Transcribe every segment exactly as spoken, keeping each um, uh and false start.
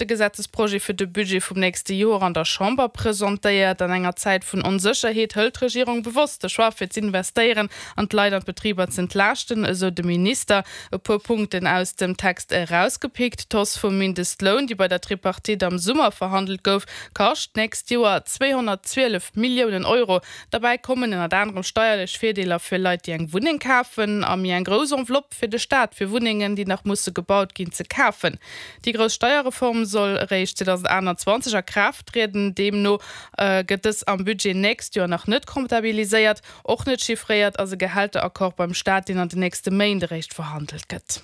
de Gesetzesprojet fir de Budget vum nächste Joer an der Chamber presentéiert. An enger Zäit vun Onsécherheet hëlt d'Regierung bewosst de Choix fir z'investéieren an d'Leit an d'Betriber z'entlaaschten, esou de Minister. E puer Punkten aus dem Text erausgepickt, D'Hausse vum Mindestloun, déi bei der Tripartite am Summer verhandelt gouf, kascht d'nächst Joer zweehonnertzwielef Milliounen Euro. Derbäi kommen ënnert anerem steierlech Virdeeler fir Leit, déi eng Wunneng kafen, a méi eng grouss Enveloppe fir de Staat, fir Wunnengen, déi nach musse gebaut ginn, ze kafen. Déi grouss Steierreform soll eréischt zweedausendaachtanzwanzeg a Kraaft trieden. Deemno gëtt dës am Budget nächst Joer nach net comptabiliséiert. Och net chiffréiert ass e Gehälteraccord beim Staat, deen an den nächste Méint eréischt verhandelt gëtt.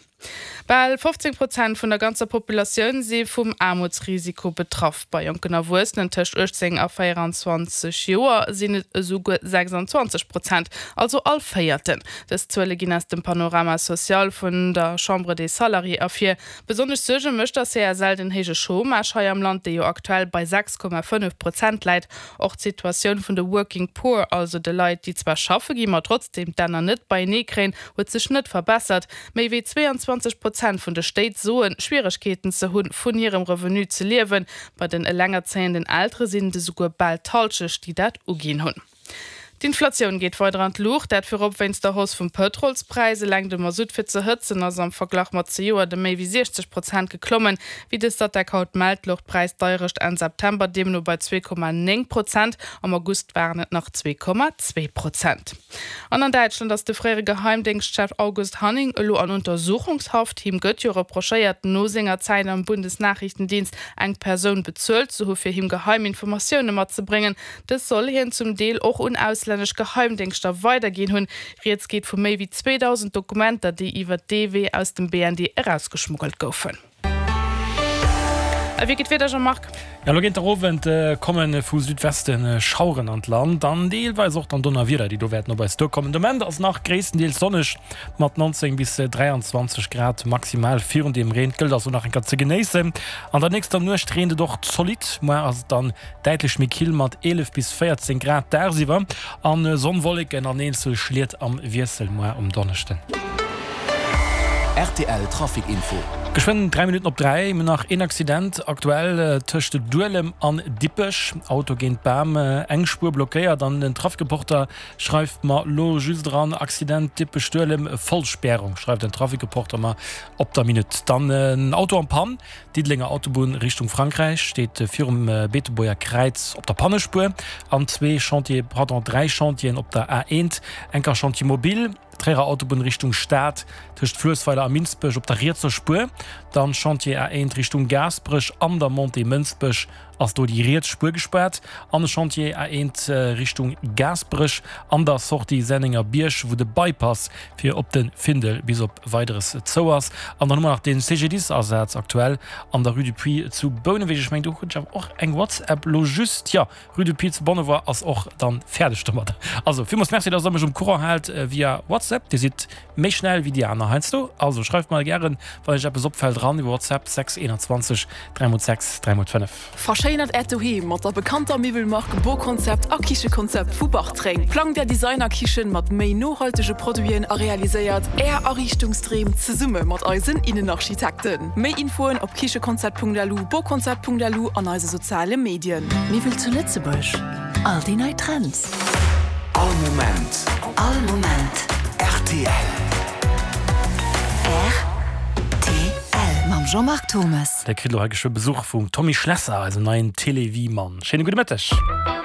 Bal fofzéng Prozent vun der ganzer Populatioun si vum Aarmutsrisiko betraff. Bei jonken Erwuessenen tëscht uechtzéng a véieranzwanzeg Joer sinn et esouguer sechsanzwanzeg Prozent, also all Véierten. Dës Zuele ginn aus dem Panorama social vun der Chambre des Salariés ervir. Besonnesch Suerge mécht der C S L den héije Chômage hei am Land, dee jo aktuell bei sechs Komma fënnef Prozent läit. Och d'Situatioun vun de Working Poor, also de Leit, déi zwar schaffe ginn, ma trotzdeem d'Enner net beienee kréien, huet sech net verbessert. Méi wéi zwéianzwanzeg Prozent vun de Stéit soen, Schwieregkeeten ze hunn, vun hirem Revenu ze liewen. Bei den elengerzéienden Eltere sinn et esouguer bal d'Hallschecht, déi dat uginn hunn. D'Inflatioun geet weider an d'Luucht, dat virop wéinst der Hausse vum Pëtrolspräis. Eleng de Masutt fir ze hëtzen ass am Verglach mat zejoert ëm méi wéi siechzeg Prozent geklommen. Wéi de Statec haut mellt, louch d'Präisdeierecht Enn September deemno bei zwee Komma néng Prozent, am August waren et nach zwee Komma zwee Prozent. An an Däitschland ass de fréiere Geheimdéngschtchef August Hanning elo an Untersuchungshaft. Him gëtt jo reprochéiert, no senger Zäit am Bundesnachrichtendienst eng Persoun bezuelt ze hu fir him geheim Informatioune matzebréngen. Dës soll hien zum Deel och un auslännesch Geheimdéngschter weiderginn hunn. Rieds geet vu méi wéi zweedausend Dokumenter, déi iwwer dee Wee aus dem B N D erausgeschmuggelt goufen. A wéi geet d'Wieder, Jean-Marc? Jo, elo géint der Owend komme vu Südweste Schaueren an d'Land an deelweis och dann Donnerwieder, déi do wäerten op eis duerkommen. De Moment ass nach gréisstendeels sonneg mat neunzéng bis dräianzwanzeg Grad maximal. Virun dem Reen gëllt also nach eng Kéier ze genéissen. An der nächster Nuecht reent et och zolidd, muer ass et dann däitlech méi kill mat eelef bis véierzéng Grad dagsiwwer an Sonn, Wolleken an eenzel Schliet am Wiessel muer um Donneschden. R T L Trafic Info. Geschwënn dräi Minutten op dräi. Mir hunn nach een Accident aktuell tëscht Duelem an Dippech. Auto géint Bam, eng Spuer blockéiert an den Trafic-Reporter schreift mer lo just eran, Accident Dippech Duelem, Vollspärung, schreift den Trafic-Reporter mer op der Minutt. Dann en Auto en panne, Diddelenger Autobunn Richtung Frankräich, steet virum Beetebuerger Kräiz op der Pannespuer an zwee Chantier, pardon, dräi Chantieren op der A eent, enker Chantier mobile, Tréierer Autobunn Richtung Stad tëscht Fluessweiler a Minsbech op der rietser Spuer, dann Chantier A eent Richtung Gaasperech an der Montée Mënsbech ass do déi riets Spuer gespaart an e Chantier A eent Richtung Gaasperech an der Sortie Sennengerbierg, wou de Bypass fir op de Findel bis op Weideres zou ass. An dann hu mer nach de C G D I S-Asaz aktuell an der Rue du Puits zu Bouneweg. Ech mengen do krut ech awer och eng WhatsApp lo just, jo, Rue du Puits zu Bonnevoie ass och dann fäerdeg domadder. Also villmools Merci, dass der mech um Courant haalt via WhatsApp. Dir sidd méi schnell wéi déi aner heiansdo. Also schreift mer gären, wann iech eppes opfält, eran iwwer WhatsApp sechs einundzwanzeg dräi mol sechs dräi mol fënnef. Verschéinert Äert Doheem mat der bekannter Miwwelmark Boconcept a Kichekonzept vu Bartreng. Plangt Är Designer-Kichen mat méi nohaltege Produiten a realiséiert Är Ariichtungsdreem zesumme mat eisen Innenarchitekten. Méi Infoen op kichekonzept Punkt L U, boconcept Punkt L U an eise soziale Medien. Miwwel zu Lëtzebuerg, all déi nei Trends. All Moment. All Moment. R T L. R T L mam Jean-Marc Thomas. Dir kritt elo hei geschwë Besuch vum Tommy Schlesser, eisem neien Télévie-Mann. Schéine gudde Mëtteg.